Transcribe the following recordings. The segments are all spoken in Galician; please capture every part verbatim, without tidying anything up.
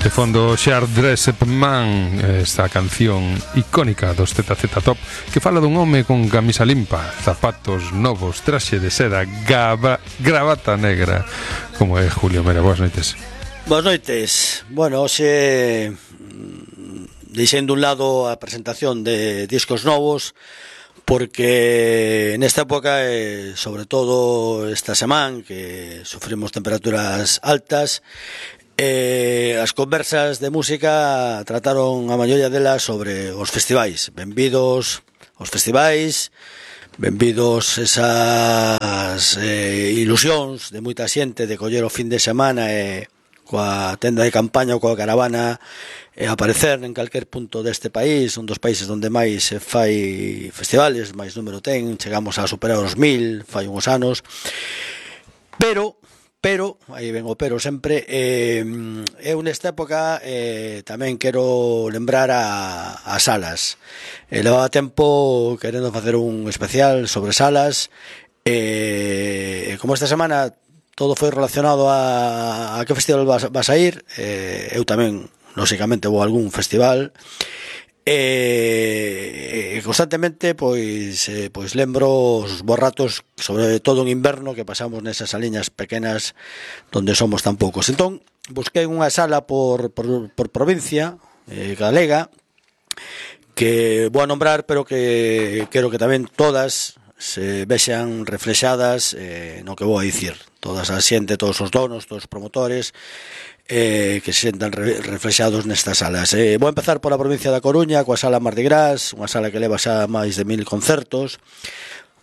De fondo, Shard Dressed Man, esta canción icónica dos Z Z Top, que fala dun home con camisa limpa, zapatos novos, traxe de seda, gaba, gravata negra, como é Julio Mera. Boas noites. Boas noites. Bueno, hoxe, deixendo un lado a presentación de discos novos, porque nesta época, e sobre todo esta semana, que sufrimos temperaturas altas, Eh, as conversas de música trataron a maioría delas sobre os festivais. Benvidos aos festivais, benvidos esas eh, ilusións de moita xente de coller o fin de semana e coa tenda de campaña ou coa caravana e aparecer en calquer punto deste país, un dos países onde máis se fai festivales, máis número ten, chegamos a superar os mil, fai uns anos, pero Pero, aí ven o pero sempre, eh, eu nesta época eh, tamén quero lembrar a, a Salas. Eh, levaba tempo querendo facer un especial sobre Salas, e eh, como esta semana todo foi relacionado a, a que festival vas, vas a ir, eh, eu tamén, lóxicamente, vou a algún festival, e constantemente pois eh, pois lembro os bons ratos, sobre todo en inverno, que pasamos nesas saliñas pequenas donde somos tan poucos. Entón, busquei unha sala por, por, por provincia eh, galega, que vou a nombrar, pero que quero que tamén todas se vexan reflexadas eh, no que vou a dicir. Todas a xente, todos os donos, todos os promotores, Eh, que se sentan re, reflexados nestas salas. Eh, vou empezar pola provincia da Coruña, coa sala Mardi Gras, unha sala que leva xa máis de mil concertos,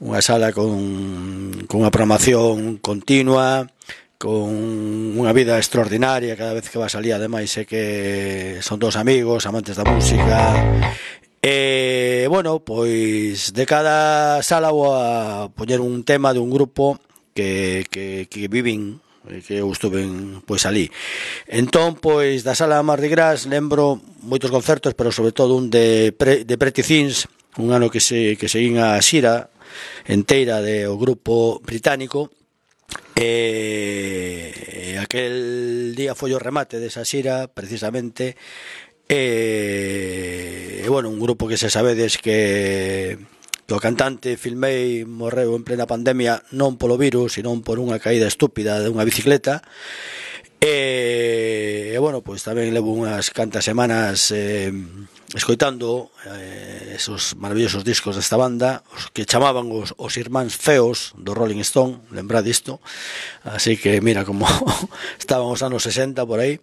unha sala con, con unha programación continua, con unha vida extraordinaria. Cada vez que vas alí, ademais, é que son todos amigos, amantes da música. E, bueno, pois de cada sala vou a poñer un tema de un grupo que, que, que viven, que eu estuve pois ali. Entón, pois da sala Mardi Gras lembro moitos concertos, pero sobre todo un de, pre, de Pretty Things, un ano que se que seguín a xira enteira do grupo británico, e, e aquel día foi o remate desa xira precisamente, e, e bueno, un grupo que se sabedes que o cantante Phil May morreu en plena pandemia, non polo virus, sino por unha caída estúpida de unha bicicleta. E, e bueno, pois tamén levo unhas cantas semanas eh, escoitando eh, esos maravillosos discos desta banda, os que chamaban os, os irmáns feos do Rolling Stone, lembrad isto. Así que mira como estaban os anos sesenta por aí.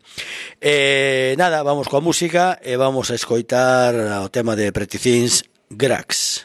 E nada, vamos coa música e vamos a escoitar o tema de Pretty Things, Grax.